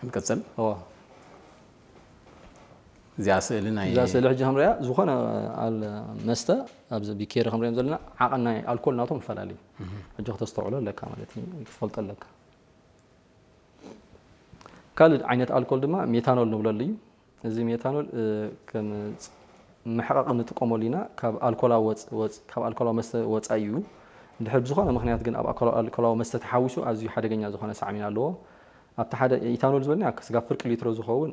ንቅፅል። እዋ እዚኣ ስእሊ ናይ እዛ ስእሊ ሕጂ ከምሪያ ዝኾነ ኣል መስተ ኣብዚ ቢኬሪ ከምሪኦም ዘለና ዓቐን ናይ ኣልኮል ናቶም ይፈላለዩ። ሕጂ ክተስተውዕሎ ኣለካ ማለት እዩ፣ ክትፈልጦ ኣለካ። ካልእ ዓይነት ኣልኮል ድማ ሜታኖል ንብለሉ እዩ። እዚ ሜታኖል ከም መሕቐቂ ንጥቀመሉ ኢና። ካብ ኣልኮላዊ ወፅ ወፅ ካብ ኣልኮላዊ መስተ ወፃኢ እዩ። እንድሕር ብዝኾነ ምክንያት ግን ኣብ ኣልኮላዊ መስተ ተሓዊሱ ኣዝዩ ሓደገኛ ዝኾነ ሳዕቤን ኣለዎ። ኣብቲ ሓደ ኢታኖል ዝበልና ስጋብ ፍርቂ ሊትሮ ዝኸውን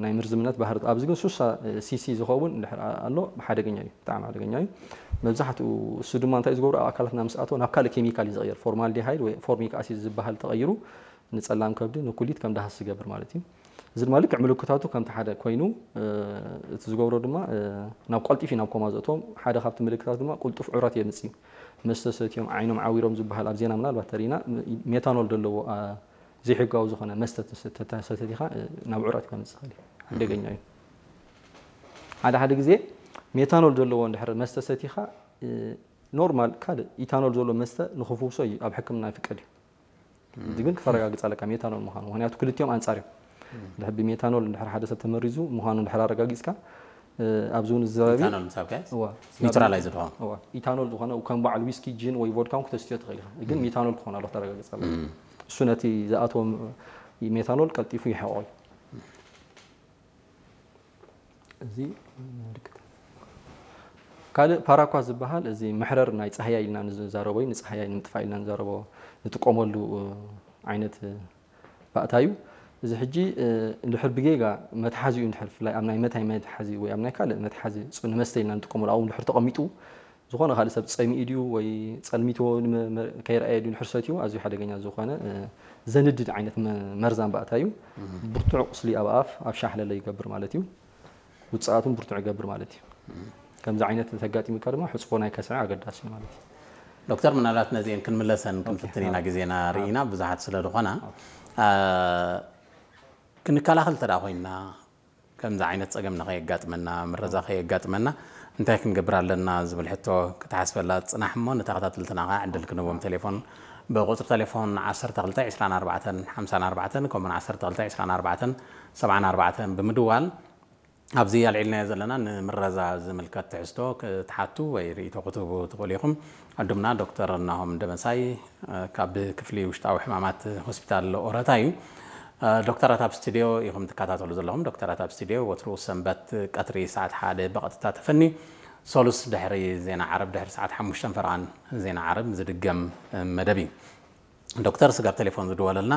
ናይ ምርዝምነት ባህሪ፣ ኣብዚ ግን ሱሳ ሲሲ ዝኸውን እንድሕር ኣሎ ሓደገኛ እዩ፣ ብጣዕሚ ሓደገኛ እዩ። መብዛሕትኡ እሱ ድማ እንታይ ዝገብሩ ኣብ ኣካላትና ምስ ኣተወ ናብ ካልእ ኬሚካል እዩ ዝቕየር። ፎርማልዲሃይድ ወይ ፎርሚክ ኣሲድ ዝበሃል ተቐይሩ ንጸላም ከብዲ ንኩሊት ከም ደሃስ ዝገብር ማለት እዩ። እዚ ድማ ልክዕ ምልክታቱ ከምቲ ሓደ ኮይኑ እቲ ዝገብሮ ድማ ናብ ቀልጢፊ ናብ ኮማ ዘእቶም ሓደ ካብቲ ምልክታት ድማ ቁልጡፍ ዑረት የምጽእ እዩ። መስተ ሰትዮም ዓይኖም ዓዊሮም ዝበሃል ኣብ ዜና ምናልባት ተሪና ሜታኖል ዘለዎ ዘይሕጋዊ ዝኾነ መስተ ተሰቲኻ ናብ ዑረት ከምጽእ ይኽእል እዩ። ሓደገኛ እዩ። ሓደ ሓደ ግዜ ሜታኖል ዘለዎ እንድሕር መስተ ሰቲኻ ኖርማል ካልእ ኢታኖል ዘሎ መስተ ንኽፍውሶ እዩ ኣብ ሕክምና ይፍቀድ እዩ። እዚ ግን ክተረጋግፅ ኣለካ ሜታኖል ምዃኑ፣ ምክንያቱ ክልቲኦም ኣንፃር እዮም። ድሕር ብሜታኖል እንድሕር ሓደ ሰብ ተመሪዙ ምዃኑ እንድሕር ኣረጋጊፅካ ኣብዚ እውን ዝዘረቢ ኢታኖል ምሳብ ከ ኒውትራላይዝ ድኾን ኢታኖል ዝኾነ ከም በዓል ዊስኪ ጂን ወይ ቮድካ እውን ክተስትዮ ትኽእል ኢኻ። ግን ሜታኖል ክኾን ኣሎ ክተረጋግፅ ኣለካ። እሱ ነቲ ዝኣተወ ሜታኖል ቀልጢፉ ይሕቆ እዩ። እዚ ምልክት ካልእ ፓራኳ ዝበሃል እዚ መሕረር ናይ ፃህያይ ኢልና ንዛረቦ እዩ። ንፃህያይ ንምጥፋእ ኢልና ንዛረቦ ንጥቀመሉ ዓይነት ባእታ እዩ። እዚ ሕጂ እንድሕር ብጌጋ መትሓዚ እዩ እንድሕር ብፍላይ ኣብ ናይ መታይ መትሓዚ ወይ ኣብ ናይ ካልእ መትሓዚ ንመስተ ኢልና ንጥቀመሉ ኣብኡ እንድሕር ተቐሚጡ ዝኾነ ካልእ ሰብ ፀሚኡ ድዩ ወይ ፀልሚትዎ ከይረኣየ ድዩ እንድሕር ሰትዩ ኣዝዩ ሓደገኛ ዝኾነ ዘንድድ ዓይነት መርዛን ባእታ እዩ። ብርቱዕ ቁስሊ ኣብ ኣፍ ኣብ ሻሕለለ ይገብር ማለት እዩ። ውፅኣቱን ብርቱዕ ይገብር ማለት እዩ። ከምዚ ዓይነት ተጋጢሙካ ድማ ሕፅቦ ናይ ከስዐ ኣገዳሲ እዩ ማለት እዩ። ዶክተር ምናልባት ነዚአን ክንምለሰን ክንፍትን ኢና ግዜና ርኢና ብዙሓት ስለ ዝኾና ክንከላኸል ተዳ ኮይና ከምዚ ዓይነት ፀገም ንኸየጋጥመና ምረዛ ከየጋጥመና እንታይ ክንገብር ኣለና ዝብል ሕቶ ክትሓስበላ ፅናሕ እሞ ንተኸታተልትና ከዓ ዕድል ክንህቦም ቴሌፎን ብቁፅሪ ቴሌፎን ዓሰርተ ክልተ ዕስራን ኣርባዕተን ሓምሳን ኣርባዕተን ከምኡን ዓሰርተ ክልተ ዕስራን ኣርባዕተን ሰብዓን ኣርባዕተን ብምድዋል ኣብዚ ኣልዒልናዮ ዘለና ንምረዛ ዝምልከት ትሕዝቶ ክትሓቱ ወይ ርእይቶ ክትህቡ ትኽእሉ ኢኹም። ዕዱምና ዶክተር ናሆም ደመሳይ ካብ ክፍሊ ውሽጣዊ ሕማማት ሆስፒታል ኦረታ እዩ። ዶክተራት ኣብ ስቱዲዮ ኢኹም ትከታተሉ ዘለኹም። ዶክተራት ኣብ ስቱዲዮ ወትሩ ሰንበት ቀትሪ ሰዓት ሓደ ብቐጥታ ተፈኒ፣ ሰሉስ ድሕሪ ዜና ዓረብ ድሕሪ ሰዓት ሓሙሽተን ፈረቓን ዜና ዓረብ ዝድገም መደብ እዩ። ዶክተር ስጋብ ቴሌፎን ዝድወለልና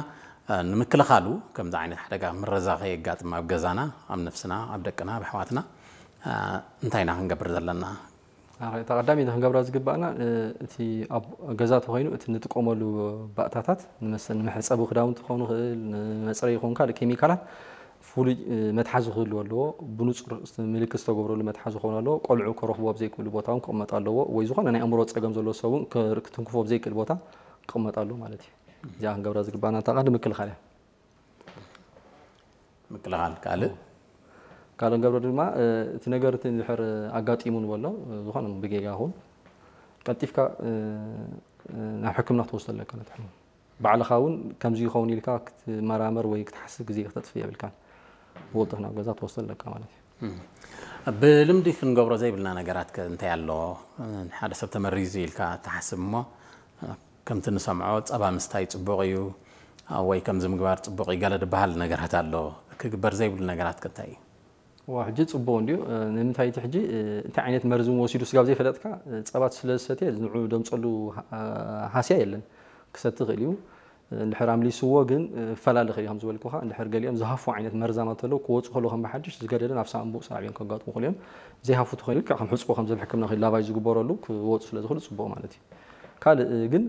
ንምክልኻሉ ከምዚ ዓይነት ሓደጋ ምረዛ ከየጋጥም ኣብ ገዛና ኣብ ነፍስና ኣብ ደቅና ኣብ ኣሕዋትና እንታይ ኢና ክንገብር ዘለና? እታ ቀዳሚ ክንገብራ ዝግባእና እቲ ኣብ ገዛ ተኮይኑ እቲ ንጥቀመሉ ባእታታት ንመሰ- ንመሕፀቢ ክዳውንቲ ክኸውን ይኽእል ንመፅረይ ይኸውን ካልእ ኬሚካላት ፍሉይ መትሓዚ ክህልዎ ኣለዎ። ብንፁር ምልክት ዝተገብረሉ መትሓዚ ክኸውን ኣለዎ። ቆልዑ ከረኽቡ ኣብ ዘይክእሉ ቦታ እውን ክቕመጥ ኣለዎ ወይ ዝኾነ ናይ ኣእምሮ ፀገም ዘለዎ ሰብ እውን ክትንክፎ ኣብ ዘይክእል ቦታ ክቕመጥ ኣለዎ ማለት እዩ። እዚኣ ክንገብራ ዝግባና እታ ቀንዲ ምክልኻል እያ። ምክልኻል ካልእ ካልእ ንገብሮ ድማ እቲ ነገር እቲ እንድሕር ኣጋጢሙ ንበሎ ዝኾነ ብጌጋ ይኹን ቀልጢፍካ ናብ ሕክምና ክትወስዶ ኣለካ ነቲ ሕሙም። ባዕልኻ እውን ከምዚ ይኸውን ኢልካ ክትመራመር ወይ ክትሓስብ ግዜ ክተጥፍእ የብልካን። ብወልጥፍ ናብ ገዛ ትወስዶ ኣለካ ማለት እዩ። ብልምዲ ክንገብሮ ዘይብልና ነገራት ከ እንታይ ኣሎ? ሓደ ሰብ ተመሪዙ ኢልካ ትሓስብ እሞ ከምቲ ንሰምዖ ጸባ ምስታይ ጽቡቕ እዩ ወይ ከምዚ ምግባር ጽቡቕ እዩ ገለ ዝበሃል ነገራት ኣሎ። ክግበር ዘይብሉ ነገራት ከ እንታይ እዩ? ዋ ሕጂ ጽቡቕ እንድዩ። ንምንታይ እቲ ሕጂ እንታይ ዓይነት መርዚ ወሲዱ ስጋብ ዘይፈለጥካ ጸባ ስለ ዝሰትየ ንዑ ደምጸሉ ሃስያ የለን። ክሰቲ ይኽእል እዩ። እንድሕር ኣምሊስዎ ግን ፈላለ ይኽእል እዩ። ከም ዝበልኩኻ እንድሕር ገሊኦም ዝሃፉ ዓይነት መርዛማት ተለዉ ክወፁ ከለዉ ከም ብሓድሽ ዝገደደ ናብ ሳንቡእ ሳዕቤን ከጋጥሙ ይኽእሉ እዮም። ዘይሃፉ ተኾይኑ ልክዕ ከም ሕፅቦ ከም ዘብ ሕክምና ከይዱ ላቫጅ ዝግበረሉ ክወፁ ስለ ዝኽእሉ ፅቡቕ ማለት እዩ። ካልእ ግን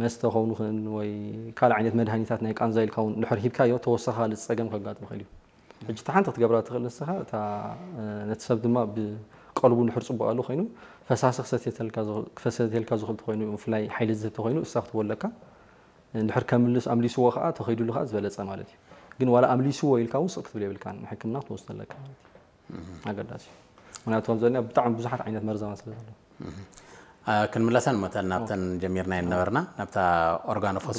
መስተ ከውን ይኽእል ወይ ካልእ ዓይነት መድሃኒታት ናይ ቃንዛ ኢልካ እውን እንድሕር ሂብካዮ ተወሳኺ ካልእ ፀገም ከጋጥም ይኽእል እዩ። ሕጂ እታ ሓንቲ ክትገብራ ትኽእል ንስኻ እታ ነቲ ሰብ ድማ ብቀልቡ እንድሕር ፅቡቕ ኣሎ ኮይኑ ፈሳሲ ክሰትየልካ ዝኽእል ተኾይኑ ብፍላይ ሓይሊ ዝህብ ተኾይኑ እሳ ክትቦለካ እንድሕር ከምልስ ኣምሊስዎ ከዓ ተኸይዱሉ ከዓ ዝበለፀ ማለት እዩ። ግን ዋላ ኣምሊስዎ ኢልካ እውን ስቕ ክትብል የብልካን ንሕክምና ክትወስዶ ኣለካ ማለት እዩ። ኣገዳሲ እዩ። ምክንያቱ ከምዘለና ብጣዕሚ ብዙሓት ዓይነት መርዛማት ስለ ዘሎ ክንምለሰን መተን ናብተን ጀሚርና የነበርና ናብታ ኦርጋኖፎስ